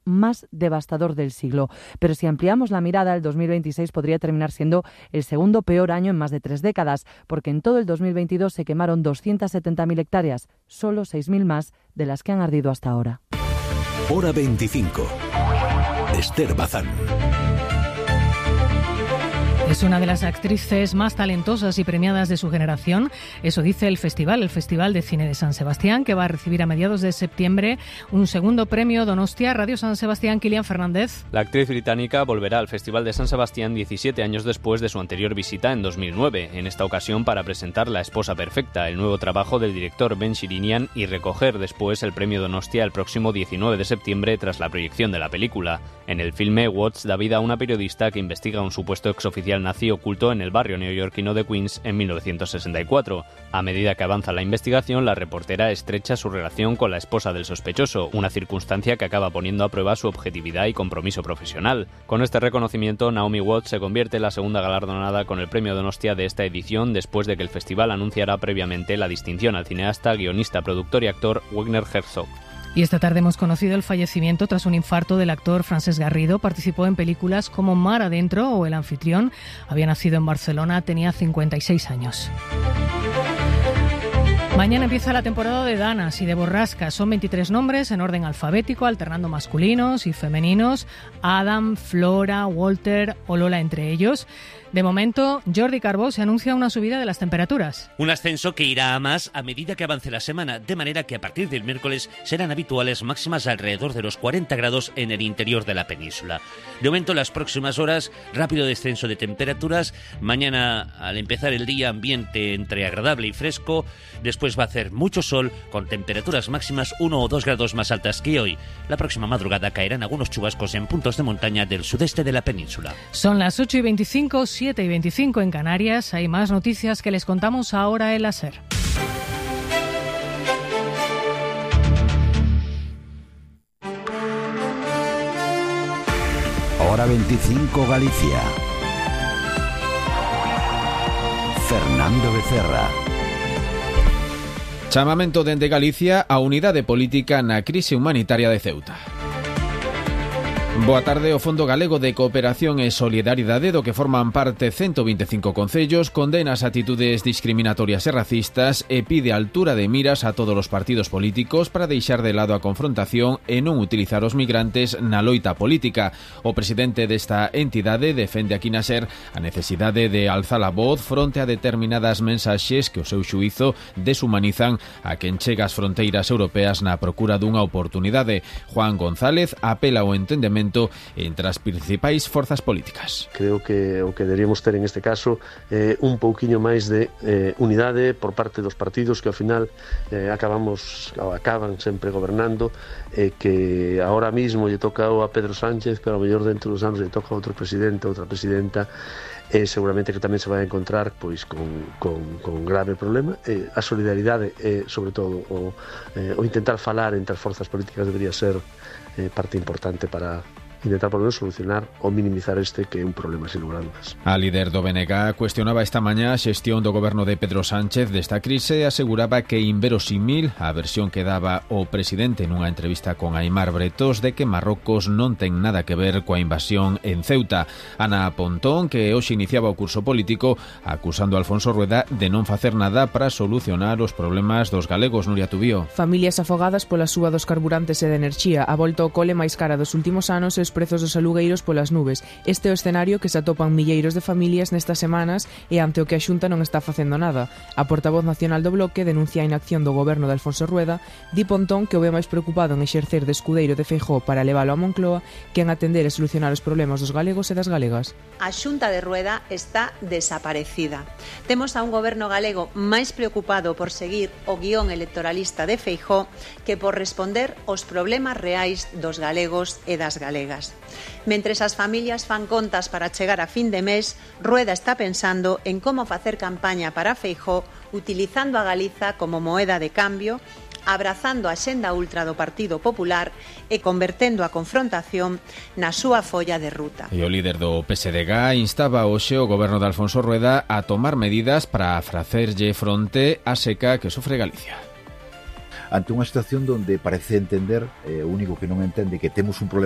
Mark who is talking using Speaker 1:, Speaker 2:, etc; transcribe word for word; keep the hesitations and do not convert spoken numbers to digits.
Speaker 1: más devastador del siglo. Pero si ampliamos la mirada, el dos mil veintiséis podría terminar siendo el segundo peor año en más de tres décadas, porque en todo el dos mil veintidós se quemaron doscientas setenta mil hectáreas, solo seis mil más de las que han ardido hasta ahora.
Speaker 2: Hora veinticinco. Esther Bazán.
Speaker 3: Es una de las actrices más talentosas y premiadas de su generación. Eso dice el festival, el Festival de Cine de San Sebastián, que va a recibir a mediados de septiembre un segundo premio Donostia. Radio San Sebastián, Kilian Fernández.
Speaker 4: La actriz británica volverá al Festival de San Sebastián diecisiete años después de su anterior visita en dos mil nueve, en esta ocasión para presentar La esposa perfecta, el nuevo trabajo del director Ben Shirinian, y recoger después el premio Donostia el próximo diecinueve de septiembre tras la proyección de la película. En el filme, Watts da vida a una periodista que investiga un supuesto exoficial nazi oculto en el barrio neoyorquino de Queens en mil novecientos sesenta y cuatro. A medida que avanza la investigación, la reportera estrecha su relación con la esposa del sospechoso, una circunstancia que acaba poniendo a prueba su objetividad y compromiso profesional. Con este reconocimiento, Naomi Watts se convierte en la segunda galardonada con el premio Donostia de esta edición, después de que el festival anunciara previamente la distinción al cineasta, guionista, productor y actor Werner Herzog.
Speaker 3: Y esta tarde hemos conocido el fallecimiento tras un infarto del actor Francesc Garrido. Participó en películas como Mar Adentro o El anfitrión. Había nacido en Barcelona, tenía cincuenta y seis años. Mañana empieza la temporada de danas y de borrascas. Son veintitrés nombres en orden alfabético, alternando masculinos y femeninos. Adam, Flora, Walter o Lola entre ellos. De momento, Jordi Carbó se anuncia una subida de las temperaturas.
Speaker 5: Un ascenso que irá a más a medida que avance la semana, de manera que a partir del miércoles serán habituales máximas alrededor de los cuarenta grados en el interior de la península. De momento, las próximas horas, rápido descenso de temperaturas. Mañana, al empezar el día, ambiente entre agradable y fresco. Después va a hacer mucho sol, con temperaturas máximas uno o dos grados más altas que hoy. La próxima madrugada caerán algunos chubascos en puntos de montaña del sudeste de la península.
Speaker 3: Son las ocho y veinticinco, siete y veinticinco en Canarias. Hay más noticias que les contamos ahora en la SER.
Speaker 2: Hora veinticinco Galicia. Fernando Becerra.
Speaker 6: Chamamento dende Galicia a unidade política na crise humanitaria de Ceuta. Boa tarde. O Fondo Galego de Cooperación e Solidariedade, do que forman parte ciento veinticinco concellos, condena as actitudes discriminatorias e racistas e pide altura de miras a todos os partidos políticos para deixar de lado a confrontación e non utilizar os migrantes na loita política. O presidente desta entidade defende aquí na SER a necesidade de alzar a voz fronte a determinadas mensaxes que o seu xuízo deshumanizan a quen chega ás fronteiras europeas na procura dunha oportunidade. Juan González apela ao entendemento entre as principais forzas políticas.
Speaker 7: Creo que o que deberíamos ter en este caso é eh, un pouquiño máis de eh, unidade por parte dos partidos que ao final eh, acabamos ou acaban sempre gobernando, e eh, que ahora mismo lle toca a Pedro Sánchez, pero ao mellor dentro dos anos lle toca a outro presidente, outra presidenta, e eh, seguramente que tamén se vai a encontrar pois con, con, con grave problema. Eh, a solidaridade e, eh, sobre todo, o, eh, o intentar falar entre as forzas políticas debería ser eh, parte importante para intentar por lo menos solucionar ou minimizar este que é un problema sin lugar a dudas.
Speaker 6: A líder do B N G cuestionaba esta mañá a xestión do goberno de Pedro Sánchez desta crise e aseguraba que inverosímil a versión que daba o presidente nunha entrevista con Aimar Bretos de que Marrocos non ten nada que ver coa invasión en Ceuta. Ana Pontón, que hoxe iniciaba o curso político, acusando a Alfonso Rueda de non facer nada para solucionar os problemas dos galegos. Nuria Tubío.
Speaker 8: Familias afogadas pola suba dos carburantes e de enerxía, a volta ao cole máis cara dos últimos anos e os prezos dos alugueiros polas nubes. Este é o escenario que se atopan milleiros de familias nestas semanas e ante o que a Xunta non está facendo nada. A portavoz nacional do Bloque denuncia a inacción do goberno de Alfonso Rueda. Di Pontón que o ve máis preocupado en exercer de escudeiro de Feijóo para leválo a Moncloa que en atender e solucionar os problemas dos galegos e das galegas.
Speaker 9: A Xunta de Rueda está desaparecida. Temos a un goberno galego máis preocupado por seguir o guión electoralista de Feijóo que por responder aos problemas reais dos galegos e das galegas. Mentres as familias fan contas para chegar a fin de mes, Rueda está pensando en como facer campaña para Feijóo utilizando a Galiza como moeda de cambio, abrazando a xenda ultra do Partido Popular e convertendo a confrontación na súa folla de ruta.
Speaker 6: E o líder do P S D G instaba hoxe o goberno de Alfonso Rueda a tomar medidas para facerlle fronte á seca que sofre Galicia.
Speaker 10: ante unha situación donde parece entender, eh, o único que non entende que temos un problema